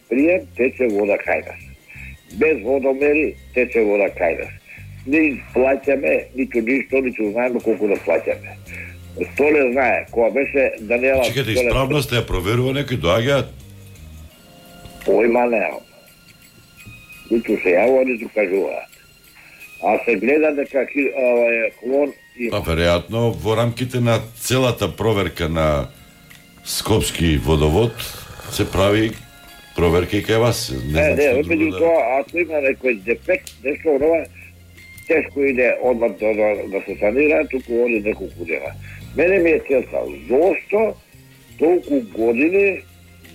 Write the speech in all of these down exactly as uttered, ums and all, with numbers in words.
прием тече вода кај нас. Без водомери тече вода кај нас. Не плаќаме ниту ништо, ниту знаеме колку да плаќаме. Столе знае, кога беше Даниела... Чекайте, исправност ја проверува некои доаѓаат? Појма немам. Ниту се јавува, ниту кажуваат. А се гледа дека клон има. Па веројатно во рамките на целата проверка на Скопски водовод се прави проверка и кај вас. Не, не, не меѓу тоа, ако има некој дефект, нешто ова, тешко иде одмah да, да, да се санира, туку оди неколку дена. Мене ми е целта, зошто толку години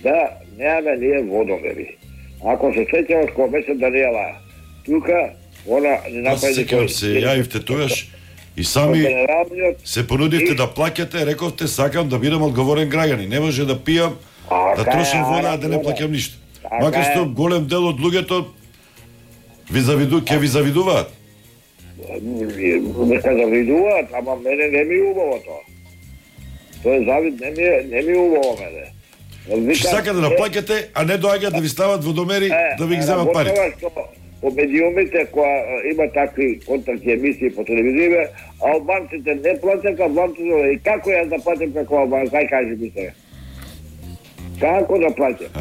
да немаме ние водомери? Ако се сеќаваш кога беше Даниела, тука, она не направи... Аз секам се јавивте тогаш и сами се понудивте да плаќате, рековте, сакам да бидам одговорен граѓанин. Не може да пијам, да трошам вода, а да не плаќам ништо. Макар што голем дел од луѓето ви завиду, ќе ви завидуваат. Нека завидуваат, ама мене не ми убаво тоа. Тој завид не ми е, не ми убаво мене. Че сакате да плаќате, а не доаѓаат да ви стават водомери, да ви ги земат пари. По медиумите која има такви контакти емисии по телевизија, албанците не плаќаат, албанците и како јас да плаќам како албанец, кај кажи ми се. Како да плаќам?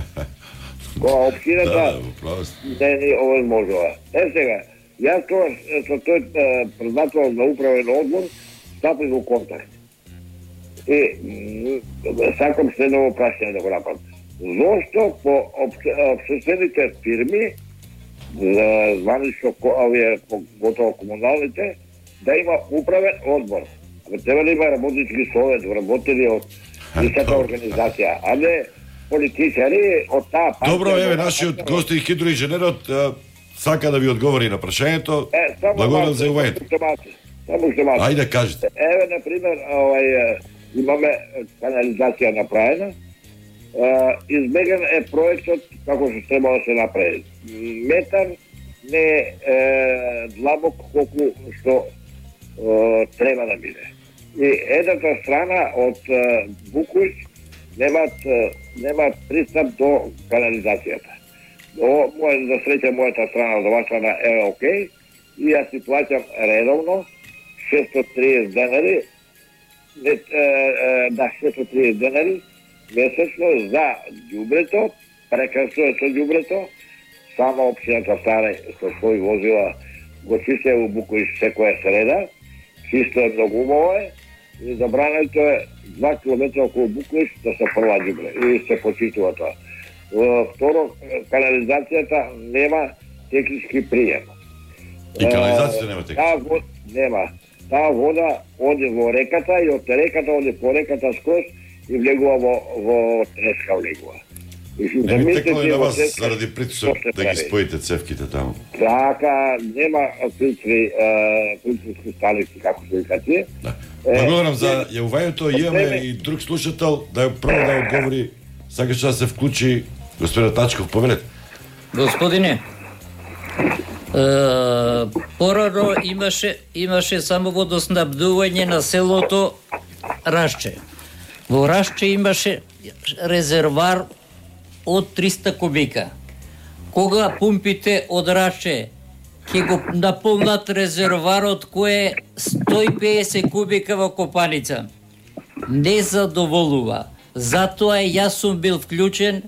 Која општината не ни овозможува. Е сега, јас тоа со тој председател на управен одбор стапив во контакт. И сакам следново прашање да го направам. Зошто по општествените фирми, званично овие готово комуналните, да има управен одбор? Треба да има работнички совет, работели од истата организација, а не политичари од таа партија. Добро, еве, нашиот гост и хидроинженерот сака да ви одговори на прашањето. Благодарам за јавувањето. Само што малку. Ајде, кажете. Еве, например, овај, имаме канализација направена. Избеган е проектот како што треба да се направи. Метар не е длабок колку што е, треба да биде. И едната страна од Букуш немаат немаат пристап до канализацијата. О, моја за среќа мојата страна, од оваа страна е окей, и јас си плаќам редовно шестоста и триесет денари, не, е, е, да, шестоста и триесет денари месечно за ѓубрето, прекрасно е со ѓубрето, само општината Стара со своји возила го чисте во Букуиш секоја среда, чисто е многу убаво е, и забрането е два километра околу Букуиш да се прва ѓубре и се почистува тоа. Второ, канализацијата нема технички прием. И канализацијата нема технички? Таа вода нема. Таа вода оди во реката и од реката оди по реката скроз и влегува во, во треска влегува. Не ми текло и на вас заради притисок да ги споите цевките таму? Така, нема притиски, притиски сталици, како се викате. Да. Благодарам за јавувањето, имаме и друг слушател, да прво да одговори, сакаш да се вклучи господин Тачков, повелете. Господине, порано имаше, имаше само водоснабдување на селото Рашче. Во Рашче имаше резервар од триста кубика. Кога пумпите од Рашче ќе го наполнат резерварот кој е сто и педесет кубика во Копаница, не задоволува. Затоа јас сум бил вклучен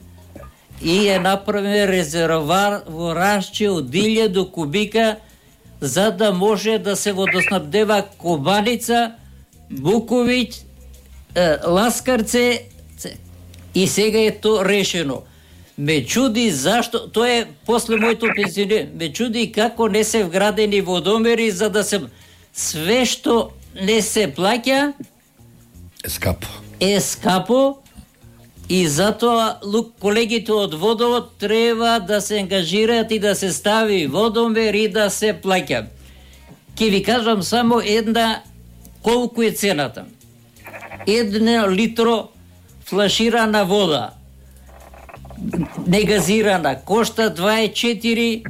и е направен резервар во Рашче од илјаду кубика за да може да се водоснабдева Кобаница, Буковиќ, Ласкарце и сега е то решено. Ме чуди зашто, тоа е после моето пенсионер, ме чуди како не се вградени водомери за да се све што не се плаќа е скапо. Е скапо и затоа колегите од водовод треба да се ангажираат и да се стави водомер и да се плаќа. Ке ви кажам само една колку е цената. Една литро флаширана вода негазирана кошта дваесет и четири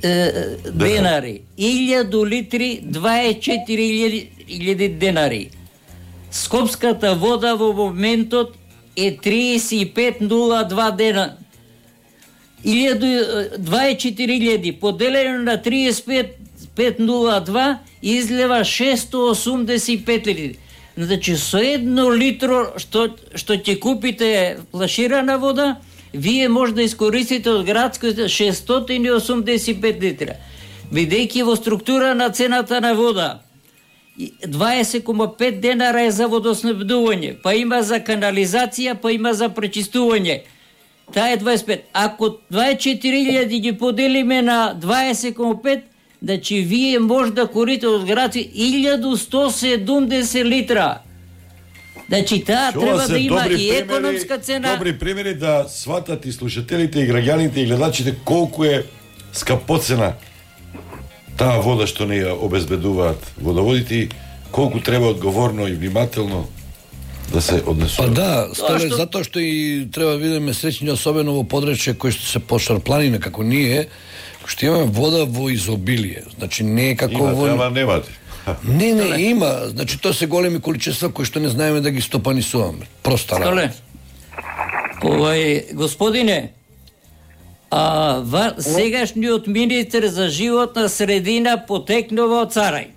е, денари. илјаду литри дваесет и четири илјади денари. Скопската вода во моментот е триесет и пет нула два дена. дваесет и четири илјади поделено на триесет и пет пет нула два излева шестстотини осумдесет и пет литри. Значи со едно литро што што ќе купите флаширана вода, вие може да искористите од градското шестстотини осумдесет и пет литра. Бидејќи во структура на цената на вода дваесет кома пет денара е за водоснабдување, па има за канализација, па има за пречистување. Таа е дваесет и пет. Ако дваесет и четири илјади ги поделиме на дваесет кома пет, значи вие може да корите од градски илјаду сто седумдесет литра. Значи таа треба да има и економска цена. Добри примери да сватат и слушателите, и граѓаните, и гледачите колку е скапоцена таа вода што не ја обезбедуваат водоводите, колку треба одговорно и внимателно да се однесува. Па да, столе, што... затоа што и треба да бидеме среќни, особено во подречје кои што се пошарпланина како ние, што имаме вода во изобилие. Значи не е како има, во... Има, немате. Не, не, има. Значи тоа се големи количества кои што не знаеме да ги стопанисуваме. Проста работа. Овај, господине, а ва, сегашниот министер за животна средина потекнува од Царај.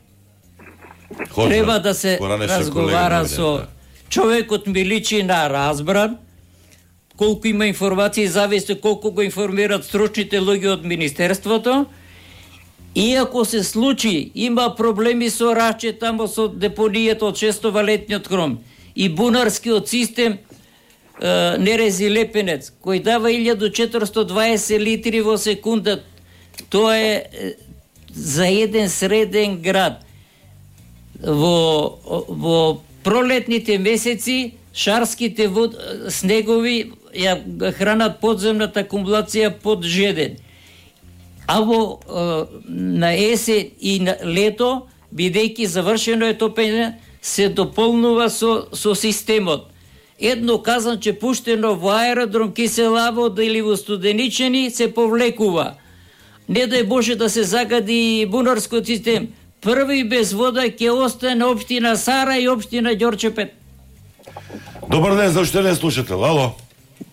Хожа, треба да се разговара со човекот, ми личи на разбран, колку има информации, зависи колку го информираат стручните луѓе од министерството. И ако се случи, има проблеми со Раче, тамо со депонијата од шестовалетниот хром и бунарскиот систем е, Нерези Лепенец, кој дава илјаду четиристотини и дваесет литри во секунда, тоа е, е за еден среден град. Во, во пролетните месеци шарските вод, снегови ја хранат подземната акумулација под жеден. А во е, на есен и на лето, бидејќи завршено е топење, се дополнува со, со системот. Едно казанче пуштено во аеродром Киселаво или во Студеничени се повлекува. Не дај Боже да се загади бунарскиот систем. Први без вода ќе остане општина Сара и општина Ѓорчепет. Добар ден, за уште не слушател. Ало.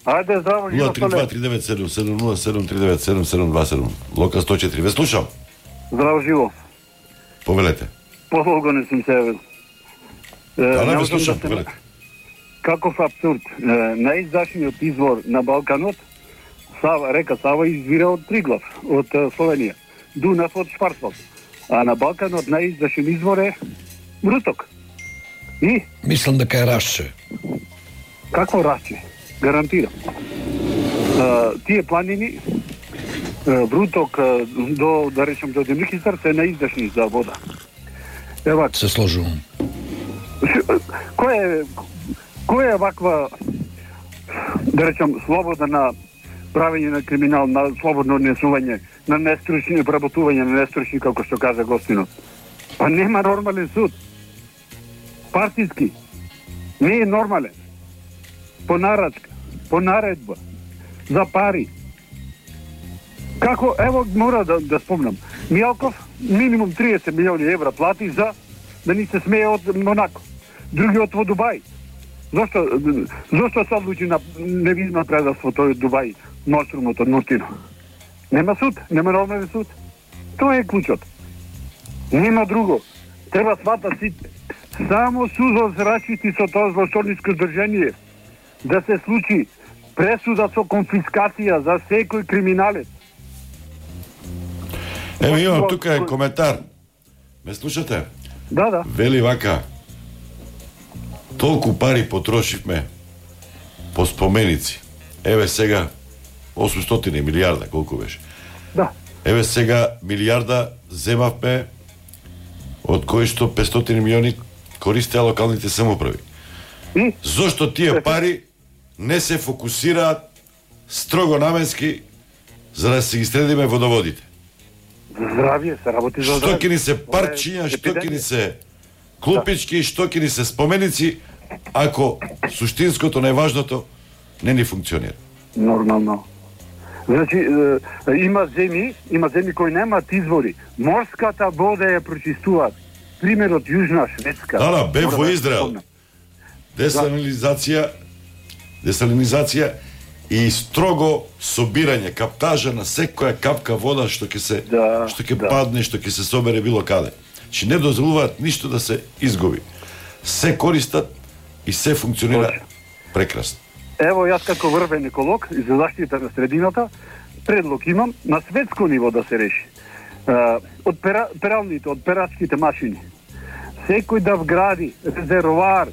Ајде, здраво, нула три два три девет седум седум нула седум три девет седум седум два седум. Лока сто и четири. Ве слушам. Здраво, живо. Повелете. Подолго не сум се јавил. Да, не ве слушам, повелете. Каков абсурд. Најизашниот извор на Балканот, Сава, река Сава извира од Триглав, од Словенија. Дунав од Шварцвалд. А на Балканот најизашен извор е Мруток. И? Мислам дека е Рашче. Какво Рашче? Гарантирам. А, тие планини, Вруток до, да речем, до Демикистар се наиздашни за вода. Ева, се сложувам. Кој е, кој е ваква, да речем, слобода на правење на криминал, на слободно однесување, на нестручни обработување, на нестручни, како што кажа гостинот? Па нема нормален суд. Партиски. Не е нормален. По нарачка, по наредба, за пари. Како, ево, мора да, да спомнам. Мијалков минимум триесет милиони евра плати за да ни се смее од Монако. Другиот во Дубај. Зошто, зошто се одлучи на невидно предавство тој Дубај, нострумот од Нуртино? Нема суд, нема нормален суд. Тоа е клучот. Нема друго. Треба сватат сите. Само судот рашити со тоа злосторничко здржение да се случи пресуда со конфискација за секој криминалец. Ево имам тука е коментар. Ме слушате? Да, да. Вели вака. Толку пари потрошивме по споменици. Еве сега осумстотини милијарда, колку беше? Да. Еве сега милијарда земавме од кои што петстотини милиони користеа локалните самоуправи. И? Зошто тие пари не се фокусираат строго наменски за да се ги средиме водоводите? Здравје, се работи за здравје. Што ќе ни се паркчиња, што ќе ни се клупички, што ќе ни се споменици, ако суштинското, најважното, не ни функционира. Нормално. Значи, е, има земји, има земји кои немаат извори. Морската вода ја прочистуваат. Примерот Јужна Шведска. Да, да, бе во Израел. Десалинизација, десалинизација и строго собирање, каптажа на секоја капка вода што ќе се Да, што ќе да. падне, што ќе се собере било каде. Значи не дозволуваат ништо да се изгуби. Се користат и се функционира прекрасно. Ево, јас како врвен еколог и за заштита на средината, предлог имам на светско ниво да се реши. Uh, од пера, пералните, од перачките машини. Секој да вгради резервоар.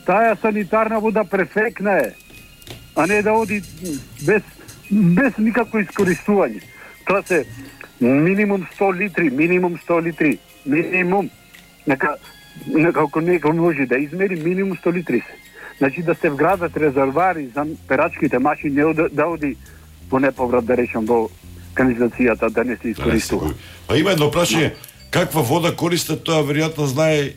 Таа санитарна вода перфектна е, а не да оди без, без никакво искористување. Тоа се минимум сто литри, минимум сто литри, минимум. Нека, нека ако некој може да измери, минимум сто литри се. Значи да се вградат резервоари за перачките машини, не да, да оди по неповрат, да речам, во канализацијата, да не се искористува. Па има едно прашање, каква вода користат, тоа веројатно знае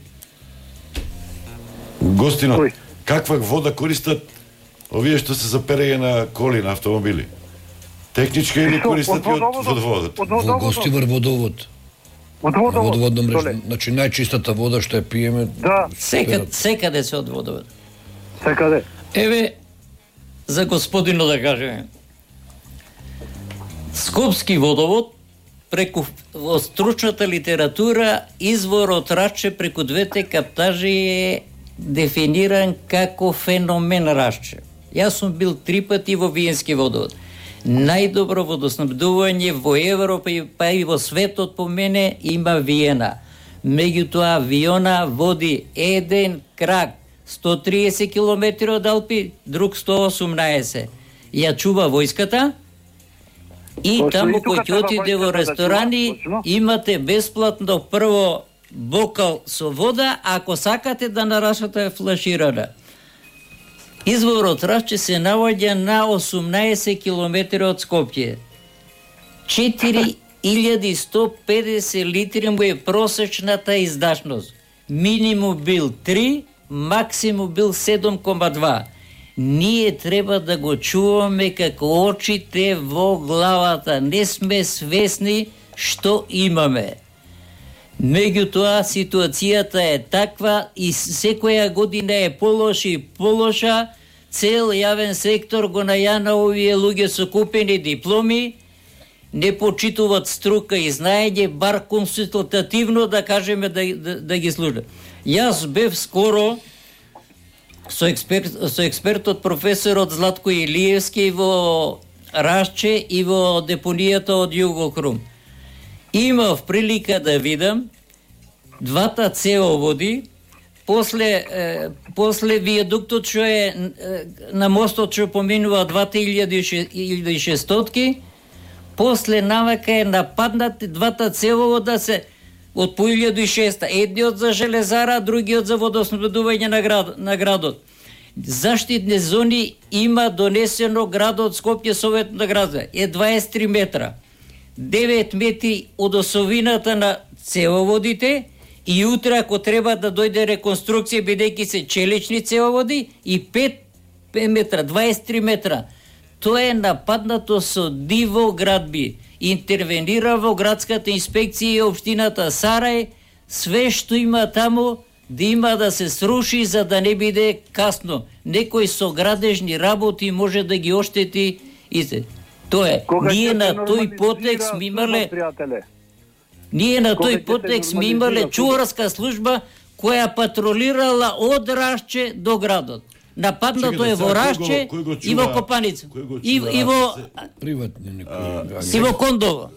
гостинот. Кој? Каква вода користат овие што се заперење на коли, на автомобили? Техничка или Што, користат и од водоводот? водоводот? Од Во водоводот? Гостивар водовод. Од На водовод. водоводна мрежа. Толе. Значи најчистата вода што ја пиеме. Да, Секаде, секаде се одводува. секаде. Еве, за господино да кажеме. Скопски водовод, преку во стручната литература, изворот Раче преку двете каптажи е дефиниран како феномен Раче. Јас сум бил три пати во Виенски водовод. Најдобро водоснабдување во Европа и па и во светот по мене има Виена. Меѓутоа Виона води еден крак сто триесет километри од Алпи, друг сто осумнаесет. Ја чува војската и Точно, таму и тука кој ќе треба отиде во војската да ресторани, чува, точно. имате бесплатно прво бокал со вода, ако сакате да нарашате флаширана. Изворот Раче се наоѓа на осумнаесет километри од Скопје. четири илјади и сто педесет литри му е просечната издашност. Минимум бил три, максимум бил седум кома два. Ние треба да го чуваме како очите во главата. Не сме свесни што имаме. Меѓутоа, ситуацијата е таква и секоја година е полоша и полоша. Цел јавен сектор го најана овие луѓе со купени дипломи, не почитуваат струка и знаење, бар консултативно да кажеме да, да, да ги служат. Јас бев скоро со, експерт, со експертот професорот Златко Илиевски во Рашче и во депонијата од Југокрум. Имав прилика да видам двата цевоводи, после, е, после вијадуктот што е, е на мостот што поминува двата илјади и шестстотки, после навака е нападнати двата цевовода се од по илјада и шеста, едниот за железара, другиот за водоснабдување на, град, на градот. Заштитни зони има донесено градот Скопје, Совет на града, е дваесет и три метра. девет метри од осовината на цевоводите и утре ако треба да дојде реконструкција бидејќи се челични цевоводи и пет метра, дваесет и три метра. Тоа е нападнато со диво градби. Интервенира во градската инспекција и општината Сарај, све што има таму да има да се сруши за да не биде касно. Некој со градежни работи може да ги оштети и се. Тоа е. Кога Ние ќе на се тој потекст нормализира ми имале служба, пријателе? Ние на Кога ќе тој се потекст ми нормализира имале служба? чуварска служба која патролирала од Рашче до градот. Нападнато Чекайте, е во сега, кој Рашче го- кој го и во чува- Копаница. кој го И, чува и во Рашче? Приватни некои. и во Кондово.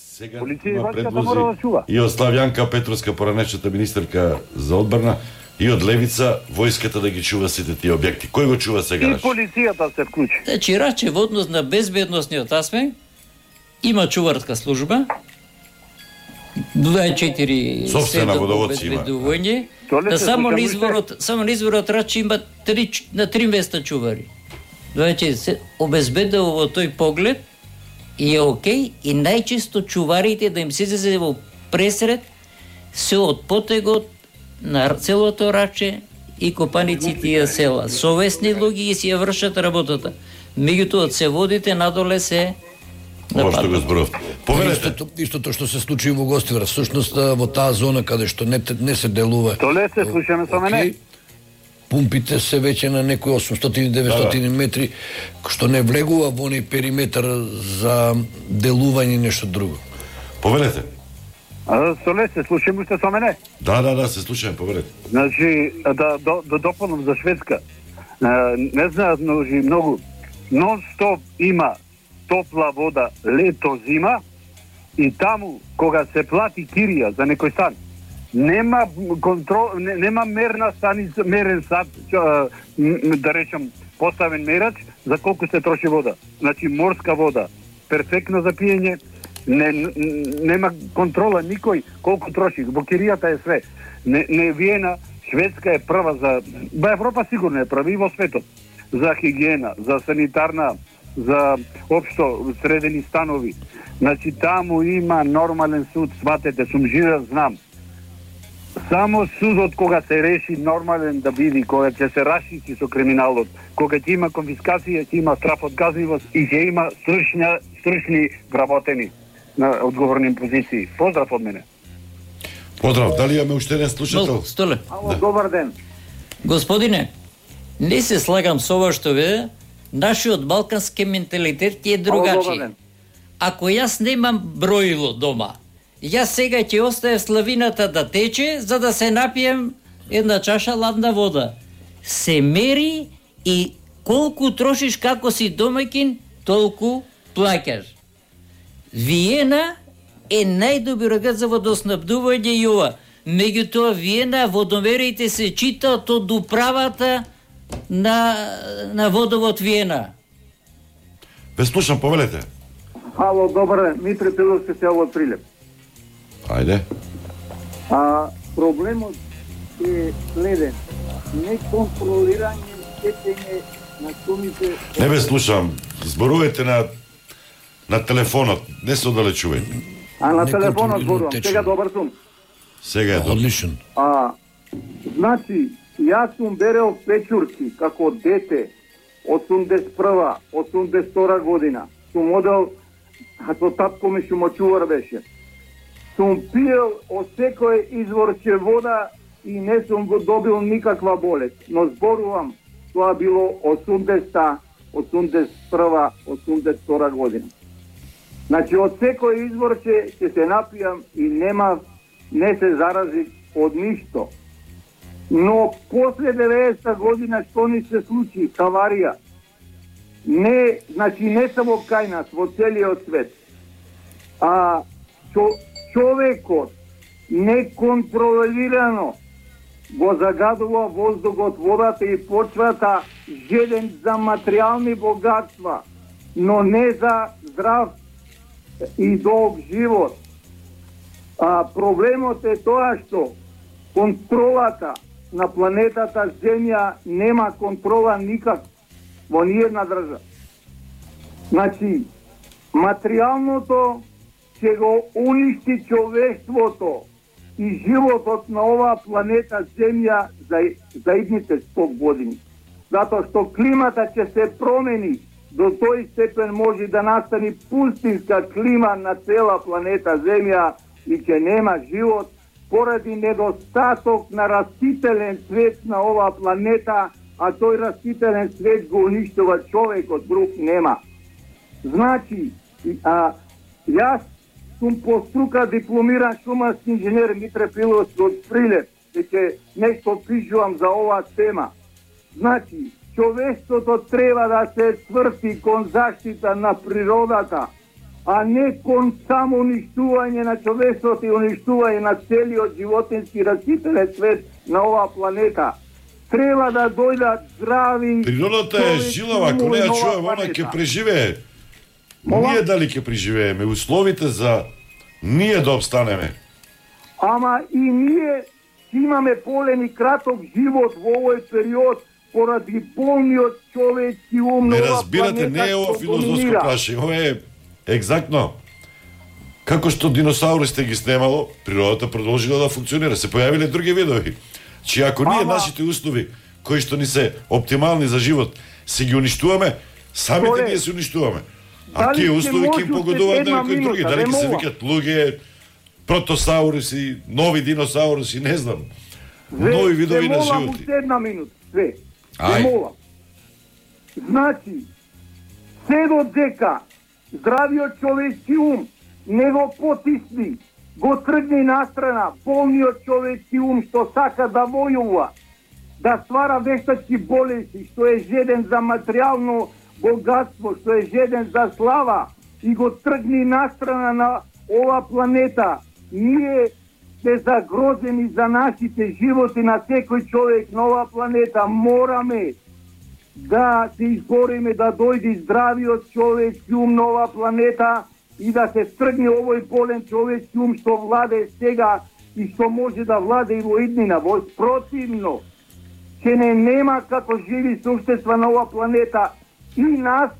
Сега Полиција и има войската предлози мора да чува. и од Славјанка Петровска, поранешната министерка за одбрана, и од Левица, војската да ги чува сите тие објекти. Кој го чува сега? И Рашче? полицијата се вклучи. Значи, Раче во однос на безбедносниот аспект има чуварска служба, дваесет и четири Сопствена седум водоводци има. обезбедување. Толе Да се само на слушаме изворот, само на изворот Раче има три, на три места чувари. Значи се обезбедува во тој поглед и е окей, и најчесто чуварите да им се излезе во пресред се од потегот на целото Раче и Копаниците и села. Совесни луѓе и си ја вршат работата. Меѓутоа се водите надоле се Ова што го зборов. Поверете, Истото, истото што се случи во Гостивар, всушност во таа зона каде што не, не се делува. Толе се слушаме со мене. Океј, пумпите се веќе на некои осумстотини до деветстотини да, да. метри, што не влегува во оној периметар за делување и нешто друго. Повелете. А, Соле, се слушаме уште со мене? Да, да, да, се слушаме, повелете. Значи, да, да, да дополнам за Шведска. А, не знаат многу, многу. Нон-стоп има топла вода лето-зима и таму, кога се плати кирија за некој стан, нема контрол, не, нема мерна станица, мерен сад, чо, да речем, поставен мерач за колку се троши вода. Значи, морска вода, перфектна за пиење, не, нема контрола никој колку троши. Во киријата е све. Не, не Виена, Шведска е прва за... Ба Европа сигурно е прва и во светот. За хигиена, за санитарна, за општо средени станови. Значи, таму има нормален суд, сватете, сум живеел, знам. Само судот кога се реши нормален да биде, кога ќе се расчисти со криминалот, кога ќе има конфискација, ќе има страф од казнивост и ќе има стручни, стручни вработени на одговорни позиции. Поздрав од мене. Поздрав, дали имаме уште еден слушател? Столе. Ало, да. Добар ден. Господине, не се слагам со ова што ве, нашиот балкански менталитет е другачи. Ако јас немам броило дома, јас сега ќе оставам славината да тече, за да се напием една чаша ладна вода. Се мери и колку трошиш како си домаќин, толку плаќаш. Виена е најдобриот за водоснабдување и ова. Меѓутоа, Виена, водомерите се читаат од управата на, на водовод Виена. Ве слушам, повелете. Ало, добар ден, Митре Пиловски се од Прилеп. Ајде. А, проблемот е следен. Неконтролирање течење на сумите... Не ве слушам. Зборувате на на телефонот, не се оддалечувајте. А на телефонот зборувам, сега добар сум. Сега е добар. Одличен. А, значи, јас сум берел печурки како дете, осумдесет и прва, осумдесет и втора година. Сум одел, со татко ми шумочувар беше. Сум пиел од секој изворче вода и не сум го добил никаква болест. Но зборувам, тоа било осумдесета, осумдесет и прва, осумдесет и втора година. Значи, од секој изворче ќе се напијам и нема, не се зарази од ништо. Но после деветдесета година што ни се случи, аварија, не, значи не само кај нас, во целиот свет, а чо, човекот неконтролирано го загадува воздухот, водата и почвата, жеден за материјални богатства, но не за здрав и долг живот. А проблемот е тоа што контролата на планетата Земја нема контрола никак во ниједна држава. Значи, материјалното ќе го уништи човештвото и животот на оваа планета Земја за, за идните сто години. Затоа што климата ќе се промени, до тој степен може да настани пустинска клима на цела планета Земја и ќе нема живот поради недостаток на растителен свет на оваа планета, а тој растителен свет го уништува човекот, друг нема. Значи, а, јас сум по струка дипломиран шумарски инженер Митре Пиловски од Прилеп, дека нешто пишувам за оваа тема. Значи, човештвото треба да се сврти кон заштита на природата, а не кон само уништување на човештвото и уништување на целиот животински растителен свет на оваа планета. Треба да дојдат здрави... Природата е жилава, ако не ја чувам, она ќе преживее. Ние дали ќе преживееме, условите за ние да обстанеме. Ама и ние имаме полен и краток живот во овој период поради болниот човечки ум на Не оваа разбирате, планета. не е ова филозофско прашање, ова е екзактно. Како што диносаурите ги снемало, природата продолжила да функционира, се појавиле други видови. Чи ако ние Ама... нашите услови, кои што ни се оптимални за живот, се ги уништуваме, самите Торе, ние се уништуваме. А дали тие ќе услови ќе им може погодуваат една на некои други, минута, дали не ќе се мога. викат луѓе, протосауруси, нови диносауруси, не знам. Ве, Нови видови се на молам животи. уште една минута. све. Ај. Молам. Значи, се додека здравиот човечки ум не го потисни, го тргне настрана болниот човечки ум што сака да војува, да ствара вештачки болести, што е жеден за материјално богатство, што е жеден за слава и го тргни настрана на ова планета, ние сме загрозени за нашите животи на секој човек на ова планета. Мораме да се избориме да дојде здравиот човечки ум на ова планета и да се стргне овој болен човечки ум што владе сега и што може да владе и во иднина. Во противно, ќе не нема како живи суштества на ова планета и нас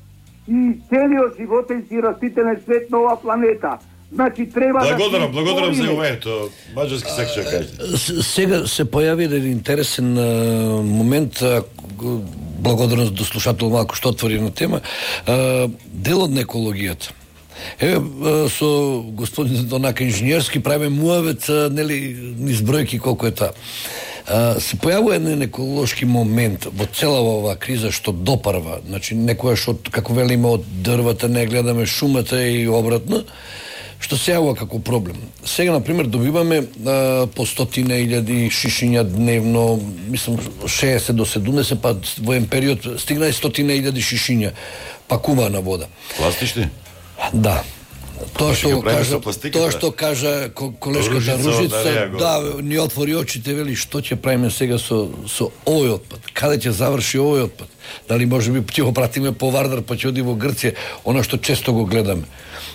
и целиот животински и растителен свет на ова планета. Значи треба благодарам, да благодарам за овоето. Маđarски сакаше да кажете. Сега се појави еден интересен а, момент, а, благодарност до слушател малку што отвори на тема, а, дел од екологијата. Еве со господин Донака инженерски правиме муавет, нели, низ бројки колку е таа. Се појавува еден еколошки момент во цела оваа криза што допарва. Значи некојаш од, како велиме, од дрвата не гледаме шумата и обратно, што се јавува како проблем. Сега, например, добиваме а, по стотина илјади шишиња дневно, мислам шеесет до седумдесет, па во еден период стигна и стотина илјади шишиња пакувана вода. Пластични? Да. Тоа што кажа, тоа што да. кажа колешката Ружица, Ружица, да, да, ни отвори очите, вели што ќе правиме сега со со овој отпад. Каде ќе заврши овој отпад? Дали можеби ќе го пратиме по Вардар, па ќе оди во Грција, она што често го гледаме.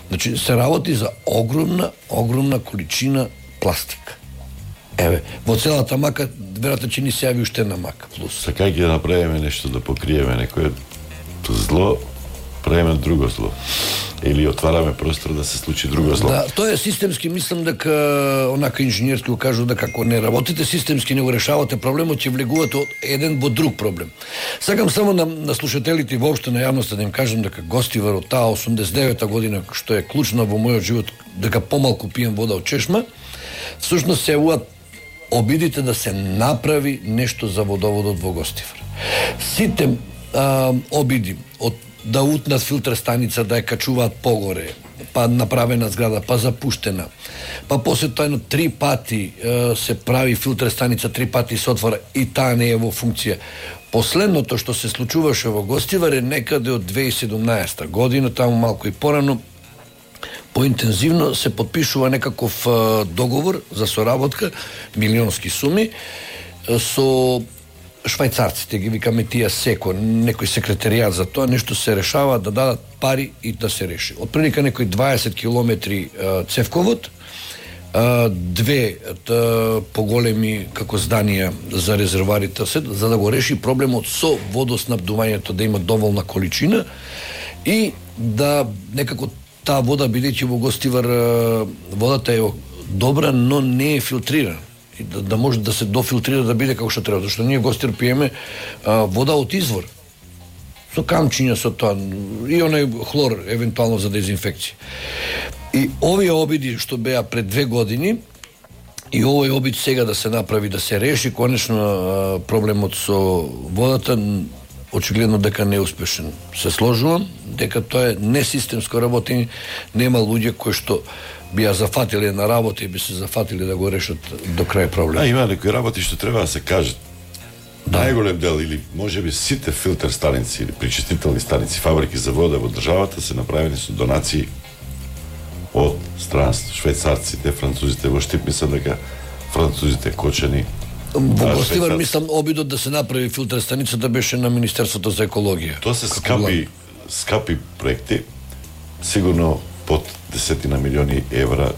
Значи се работи за огромна, огромна количина пластика. Еве, во целата мака веројатно ќе ни се јави уште една мака плюс. Сакај ќе направиме нешто да покриеме некое зло, правиме друго зло. Или отвараме простор да се случи друго зло. Да, тоа е системски, мислам дека онака инженерски го кажу дека ако не работите системски, не го решавате проблемот, ќе влегувате од еден во друг проблем. Сакам само на, на слушателите и воопшто на јавноста да им кажам дека Гостивар од таа осумдесет и девета година, што е клучна во мојот живот, дека помалку пием вода од чешма, всушност се јавуваат обидите да се направи нешто за водоводот во Гостивар. Сите а, обиди од да утнат филтер станица, да ја качуваат погоре, па направена зграда, па запуштена, па после тоа три пати е, се прави филтер станица, три пати се отвора и таа не е во функција. Последното што се случуваше во Гостивар е некаде од две илјади и седумнаесета година, таму малку и порано, поинтензивно се подпишува некаков е, договор за соработка, милионски суми, е, со швајцарците, ги викаме тие секо, некој секретаријат за тоа, нешто се решава да дадат пари и да се реши. Отприлика некои дваесет километри е, цевковод, е, две е, поголеми како зданија за резерварите, за да го реши проблемот со водоснабдувањето, да има доволна количина и да некако таа вода, бидејќи во Гостивар водата е добра, но не е филтрирана. Да, да може да се дофилтрира, да биде како што треба, зашто ние Гостир пиеме а, вода од извор. Со камчиња, со тоа, и онај хлор, евентуално за дезинфекција. И овие обиди што беа пред две години, и овој обид сега да се направи, да се реши конечно а, проблемот со водата, очигледно дека не е успешен. Се сложувам, дека тоа е несистемско работење, нема луѓе кои што би ја зафатиле на работа и би се зафатиле да го решат до крај проблем. А, има некои работи што треба да се кажат. Да. Најголем дел или можеби сите филтер станици или причистителни станици, фабрики за вода во државата се направени со донации од странство, швајцарците, французите, во Штип мислам дека французите кочени. Во Гостивар мислам обидот да се направи филтер станицата беше на Министерството за екологија. Тоа се скапи, скапи проекти, сигурно под десетина милиони евра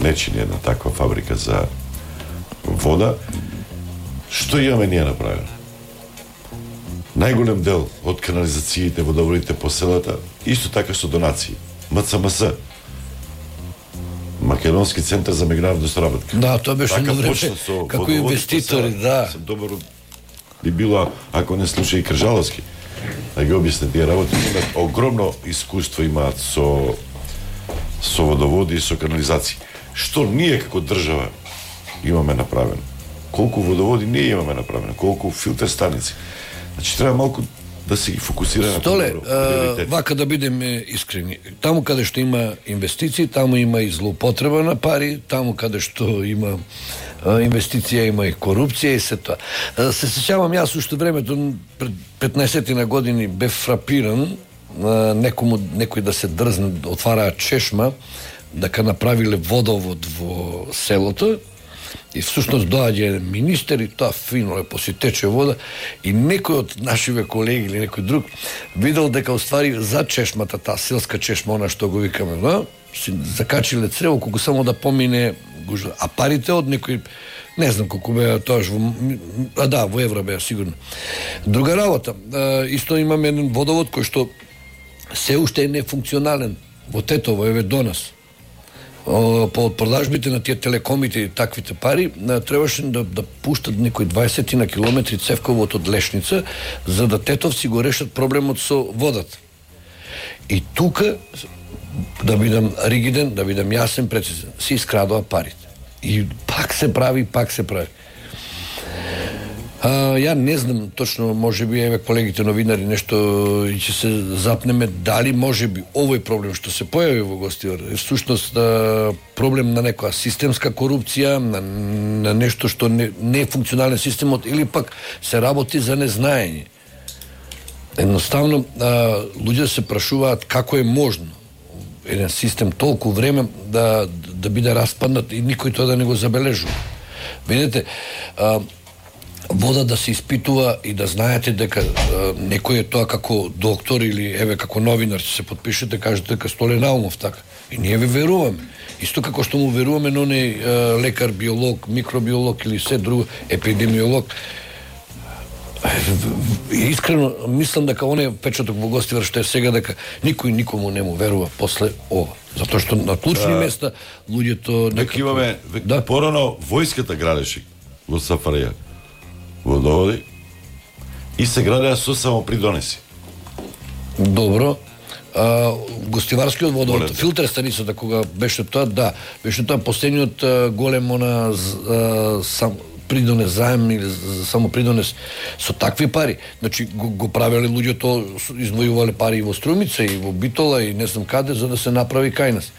не чини една таква фабрика за вода. Што имаме ние направено? Најголем дел од канализациите, водоводите по селата, исто така со донации. Ем Ц М С, Македонски центар за меѓународна соработка. Да, тоа беше едно време како инвеститори, да. Сам добро би било, ако не слуша и Кржаловски, да ги објасне тие работи. Имаат огромно искуство имаат со со водоводи и со канализација. Што ние како држава имаме направено? колку водоводи не имаме направено, колку филтер станици. Значи треба малку да се ги фокусира на Столе, а, вака да бидеме искрени. Таму каде што има инвестиции, таму има и злоупотреба на пари, таму каде што има а, инвестиција, има и корупција и се тоа. А, се сеќавам јас уште времето пред петнаесет години бев фрапиран а, некому некој да се дрзне да отвараа чешма дека направиле водовод во селото. И всушност доаѓа министер и тоа фино лепо си тече вода и некој од нашиве колеги или некој друг видел дека уствари за чешмата, таа селска чешма, она што го викаме, да, си закачиле црево колку само да помине гужва. А парите од некој, не знам колку беа тоаш во, а да, во евро беа сигурно. Друга работа, исто имаме еден водовод кој што се уште е нефункционален во Тетово, еве до нас. По продажбите на тие телекомите и таквите пари, требаше да, да пуштат некои дваесет на километри цевковод од Лешница, за да тетовци го решат проблемот со водата. И тука, да бидам ригиден, да бидам јасен, прецизен, се искрадува парите. И пак се прави, пак се прави. А, ја не знам точно, може би еве колегите новинари нешто и ќе се запнеме дали може би овој проблем што се појави во Гостивар е всушност проблем на некоја системска корупција, на, на нешто што не, не е функционален системот или пак се работи за незнаење. Едноставно а, луѓе се прашуваат како е можно еден систем толку време да да биде распаднат и никој тоа да не го забележува. Видете, а, вода да се испитува и да знаете дека а, некој е тоа како доктор или еве како новинар ќе се подпишете, кажете дека Столе Наумов така. И ние ви веруваме. Исто како што му веруваме на оној лекар, биолог, микробиолог или се друго, епидемиолог. Искрено мислам дека оној печаток во Гостивар што е сега дека никој никому не му верува после ова. Затоа што на клучни а, места луѓето некако... имаме век, да. Порано војската градеше во Сафареја водоводи и се градеа со самопридонеси. Добро. А, Гостиварскиот водовод, филтер станицата кога беше тоа, да, беше тоа последниот голем она а, сам придонес заем или само придонес со такви пари. Значи го, го правеле луѓето, издвојувале пари и во Струмица и во Битола и не знам каде за да се направи кај нас.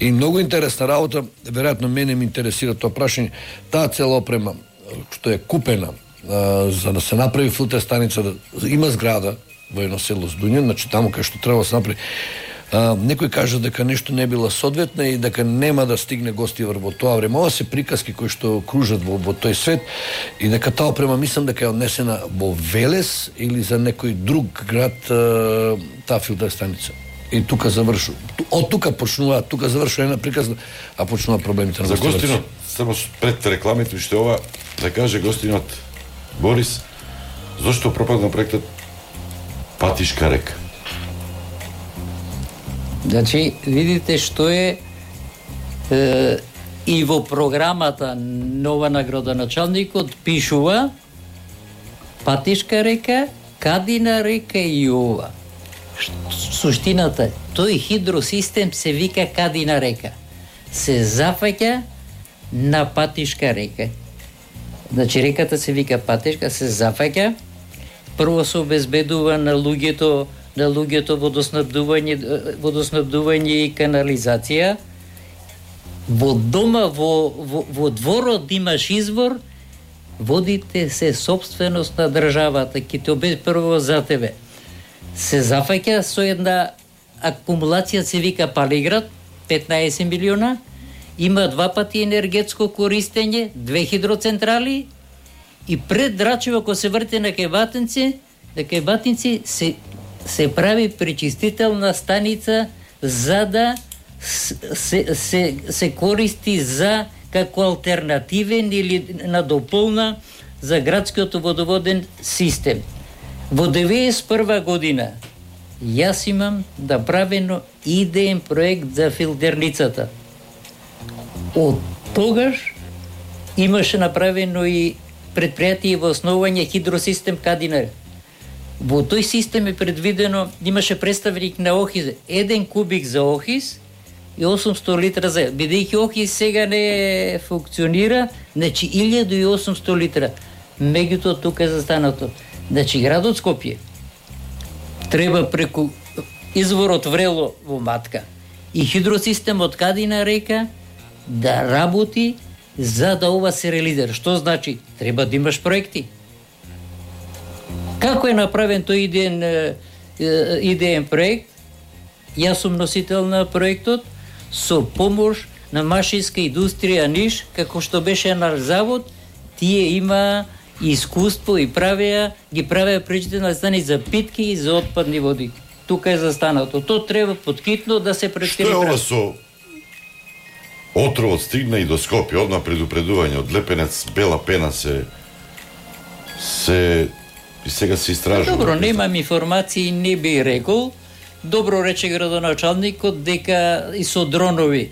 И многу интересна работа, веројатно мене ме интересира тоа прашање, таа цела опрема што е купена а, за да се направи филтер станица, да, има зграда во едно село Здуња, значи таму кај што треба да се направи. А, некој кажа дека нешто не била соодветно и дека нема да стигне Гостивар во тоа време. Ова се приказки кои што кружат во, во тој свет и дека таа опрема мислам дека е однесена во Велес или за некој друг град а, таа филтер станица. И тука завршува. Од тука почнува, тука завршува една приказна, а почнува проблемите на за Гостинот. Само пред рекламите што ова да каже Гостинот Борис, зошто пропадна проектот Патишка река? Значи, видите што е, е и во програмата нова на градоначалникот пишува Патишка река, Кадина река и ова. Суштината, тој хидросистем се вика Кадина река. Се зафаќа на Патишка река. Значи реката се вика Патишка, се зафаќа, прво се обезбедува на луѓето на луѓето водоснабдување, водоснабдување и канализација. Во дома, во, во, во дворот имаш извор, водите се собственост на државата, ки те обезбедува за тебе. Се зафаќа со една акумулација, се вика Палиград, петнаесет милиона, има два пати енергетско користење, две хидроцентрали и пред Драчево, кога се врти на Кајбатинци, на Кајбатинци се се прави пречистителна станица за да се, се, се користи за како алтернативен или надополна за градскиот водоводен систем. Во деветдесет и прва година јас имам направено идеен проект за филтерницата. Од тогаш имаше направено и предпријатие во основање хидросистем Кадина. Во тој систем е предвидено, имаше представник на Охис, еден кубик за Охис, и осумсто литра за бидејќи Охрид сега не функционира, значи илјаду и осумсто литра. Меѓутоа тука е застанато. Значи градот Скопје треба преку изворот Врело во Матка и хидросистемот Кадина река да работи за да ова се реализира. Што значи? Треба да имаш проекти. Како е направен тој идеен, идеен проект? Јас сум носител на проектот со помош на машинска индустрија Ниш, како што беше наш завод, тие има искуство и правеа, ги правеа пречителни стани за питки и за отпадни води. Тука е застанато. То треба поткитно да се предприеме. Што е ова со отровот стигна и до Скопје, одма предупредување од Лепенец, бела пена се се и сега се истражува. Добро, немам информации, не би рекол. Добро рече градоначалникот дека и со дронови.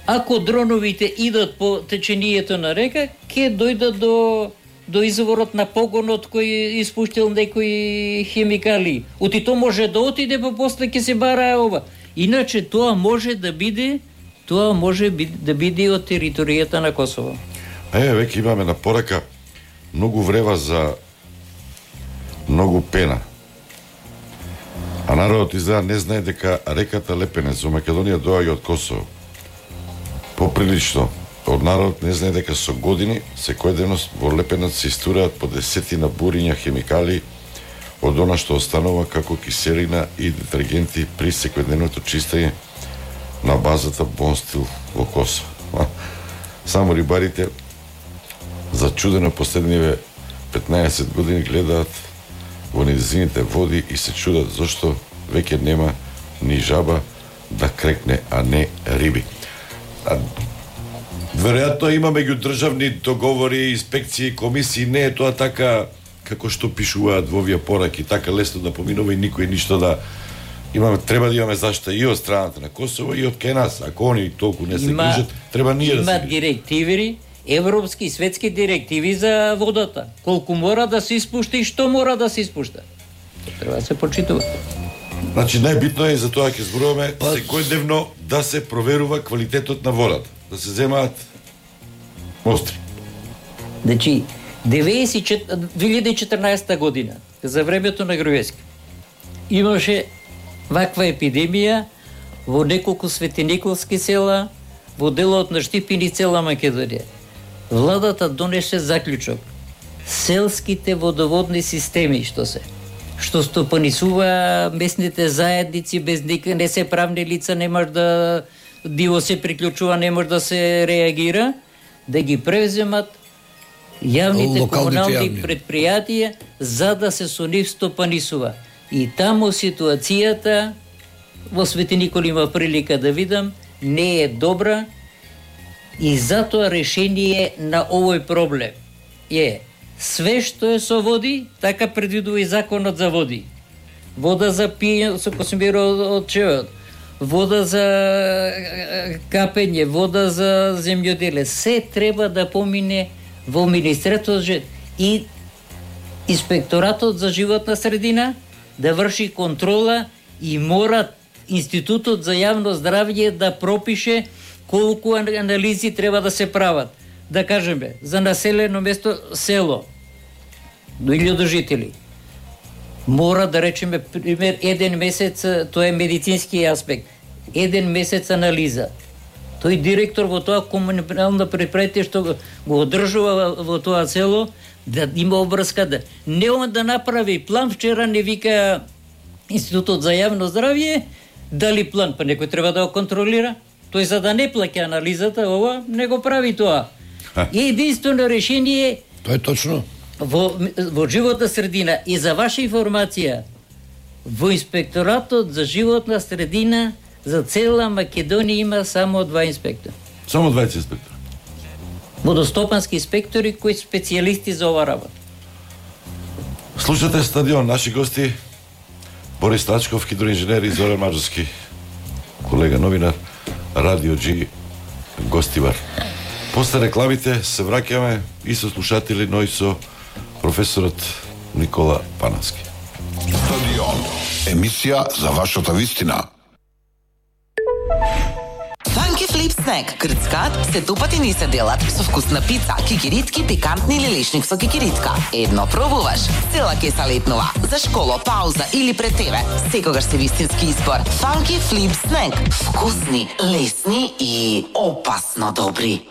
Ако дроновите идат по течението на река, ќе дојдат до до изворот на погонот кој испуштил некои химикали. Оти то може да отиде, па после ќе се бара ова. Иначе тоа може да биде, тоа може да биде од територијата на Косово. Е, веќе имаме на порака многу врева за многу пена. А народот изгледа не знае дека реката Лепенец во Македонија доаѓа од Косово. Поприлично, од народот не знае дека со години секојдневно во Лепенец се истураат по десетина буриња химикали од она што останува како киселина и детергенти при секојдневното чистење на базата Бонстил во Косово. Само рибарите зачудено последниве петнаесет години гледаат во низините води и се чудат зашто веќе нема ни жаба да крекне, а не риби. А, веројатно има меѓудржавни договори, инспекции, комисии, не е тоа така како што пишуваат во овие пораки, така лесно да поминува и никој ништо да имаме, треба да имаме заштита и од страната на Косово и од кај нас. Ако они толку не се грижат, треба ние да се Има директиви, европски и светски директиви за водата. Колку мора да се испушта и што мора да се испушта. Треба да се почитува. Значи најбитно е за тоа ќе зборуваме па... секојдневно да се проверува квалитетот на водата, да се земаат остри. Значи две илјади и четрнаесетта година, за времето на Груевски, имаше ваква епидемија во неколку светениколски села, во делот на Штипин и цела Македонија. Владата донесе заклучок. Селските водоводни системи, што се, што стопанисува местните заедници, без никакви не се правни лица, не може да диво се приклучува, не може да се реагира, да ги превземат јавните комунални јавни предпријатија за да се со нив стопанисува. И таму ситуацијата во Свети Никола има прилика да видам не е добра и затоа решение на овој проблем е све што е со води, така предвидува и законот за води. Вода за пиење со консумира од чевот, вода за капење, вода за земјоделие, се треба да помине во Министерството и Инспекторатот за животна средина да врши контрола и мора Институтот за јавно здравје да пропише колку анализи треба да се прават. Да кажеме, за населено место село до илјада жители. Мора да речеме пример еден месец, тоа е медицински аспект. Еден месец анализа. Тој директор во тоа комунално предпријатие што го одржува во тоа село да има обврска да не он да направи план. Вчера не вика Институтот за јавно здравје дали план, па некој треба да го контролира. Тој за да не плаќа анализата, ова не го прави тоа. И единствено решение тоа е точно во, во животна средина. И за ваша информација, во Инспекторатот за животна средина за цела Македонија има само два инспектора. Само дваесет инспектора. Водостопански инспектори кои специјалисти за ова работа. Слушате Стадион, наши гости Борис Тачков, хидроинженер, и Зоран Маджарски, колега новинар, Радио Джи, гостивар. После рекламите се враќаме и со слушатели, но и со професорот Никола Панавски. Стадион, емисија за вашата вистина. Funky Flip Snack, крцкаат се тупати ни се делат со вкусна пица, кикиритки, пикантни или лешник со кикиритка. Едно пробуваш, цела кеса летнува. За школа, пауза или пред тебе, секогаш се вистински избор. Funky Flip Snack, вкусни, лесни и опасно добри.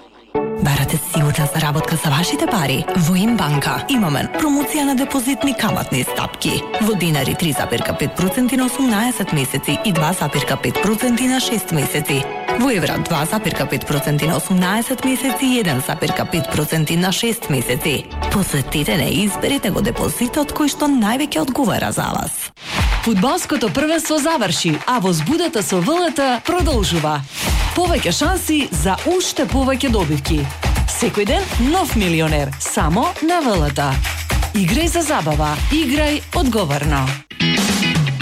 Барате сигурна заработка за вашите пари? Во Имбанка имаме промоција на депозитни каматни стапки. Во динари три запирка пет проценти на осумнаесет месеци и два запирка пет проценти на шест месеци. Во евра два запирка пет проценти на осумнаесет месеци и еден запирка пет проценти на шест месеци. Посетете не и изберете го депозитот кој што највеќе одговара за вас. Фудбалското првенство заврши, а возбудата со ВЛТ продолжува. Повеќе шанси за уште повеќе добивки. Секој ден нов милионер, само на ВЛТ. Играј за забава, играј одговорно.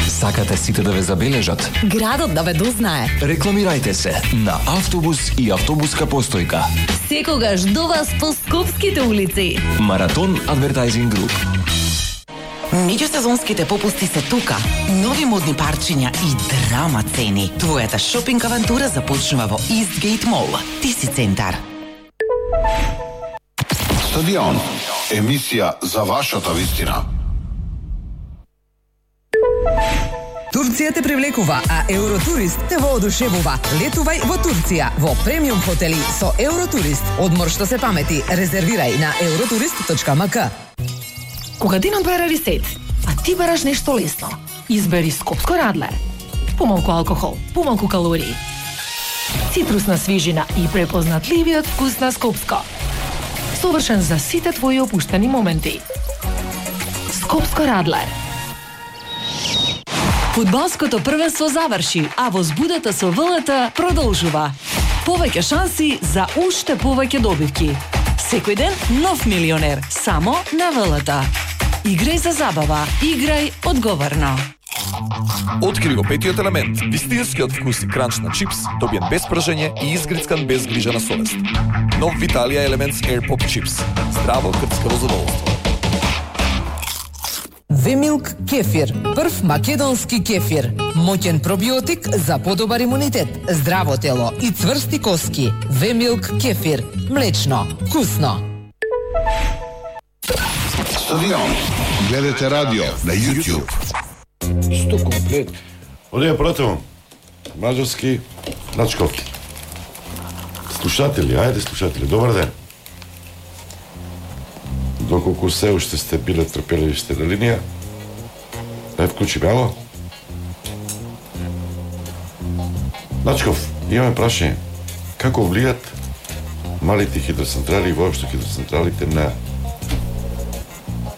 Сакате сите да ве забележат? Градот да ве дознае. Рекламирајте се на автобус и автобуска постојка. Секогаш до вас по скопските улици. Маратон Advertising Group. Меѓусезонските попусти се тука. Нови модни парчиња и драма цени. Твојата шопинг авантура започнува во Eastgate Mall. Ти си центар. Стадион. Емисија за вашата вистина. Турција те привлекува, а Евротурист те воодушевува. Летувај во Турција, во премиум хотели со Евротурист. Одмор што се памети. Резервирај на евротурист точка ем ка. Кога денот бара ресет, а ти бараш нешто лесно, избери Скопско Радлер. Помалку алкохол, помалку калории. Цитрусна свижина и препознатливиот вкус на Скопско. Совршен за сите твои опуштени моменти. Скопско Радлер. Фудбалското првенство заврши, а возбудата со ВЛТ продолжува. Повеќе шанси за уште повеќе добивки. Секој ден нов милионер, само на ВЛТ. Играј за забава, играј одговорно. Откри го петиот елемент, вистинскиот вкус и кранч на чипс, добиен без пражење и изгрицкан без грижа на совест. Нов Виталија Elements Air Pop Chips. Здраво крцкаво задоволство. Вемилк кефир, прв македонски кефир. Моќен пробиотик за подобар имунитет, здраво тело и цврсти коски. Вемилк кефир, млечно, вкусно. Стадион. Гледате радио на YouTube. Сто комплет. Одија пратувам. Маđarski Начков. Слушатели, ајде слушатели, добар ден. Доколку се уште сте биле трпеливи сте на линија, не вклучи бяло. Начков, имаме прашање. Како влијат малите хидроцентрали и воопшто хидроцентралите на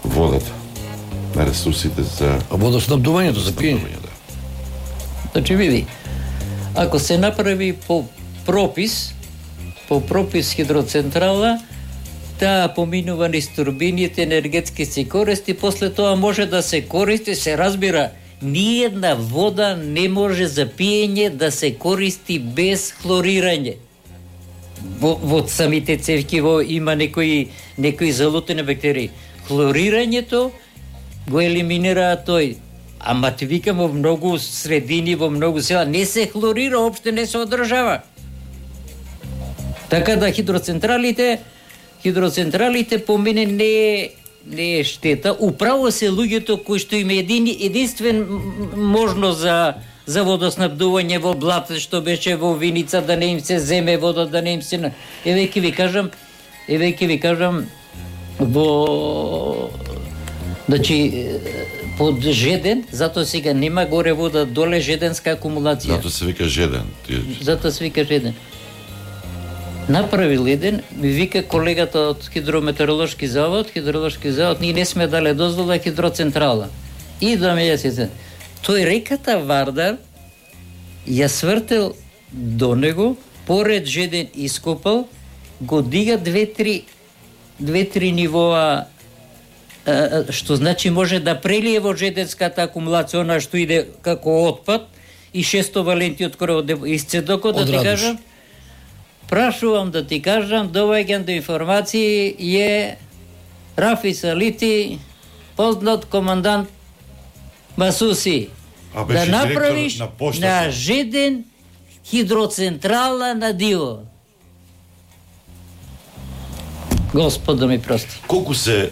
водата, на ресурсите за... А водоснабдувањето за пиење? Да. Значи, види, ако се направи по пропис, по пропис хидроцентрала, таа поминува низ турбините, енергетски се користи, после тоа може да се користи, се разбира, ниедна вода не може за пиење да се користи без хлорирање. Во, во самите цевки во има некои, некои залутени бактерии. Хлорирањето го елиминира тој. Ама ти викам во многу средини, во многу села, не се хлорира, опште не се одржава. Така да хидроцентралите, хидроцентралите по мене не е, не е штета. Управо се луѓето кои што има един, единствен можност за, за водоснабдување во блат, што беше во Виница, да не им се земе вода, да не им се... Еве ќе ви кажам, еве ќе ви кажам, во... Значи, под Жеден, затоа сега нема горе вода, доле Жеденска акумулација. Затоа се вика Жеден. Затоа се вика Жеден. Направил еден, ми вика колегата од хидрометеоролошки завод, хидроложки завод, ние не сме дале дозвола хидроцентрала. И да ме јас тој реката Вардар ја свртел до него, поред Жеден ископал, го дига две-три две-три нивоа, што значи може да прелие во Жеденската акумулација, она што иде како отпад, и шесто валенти од коров исцедокот, да ти кажам. Прашувам да ти кажам, доваѓам до информации е Рафи Салити, познат командант Масуси. А да направиш на, на Жеден хидроцентрала на Диво. Господ да ми прости. Колку се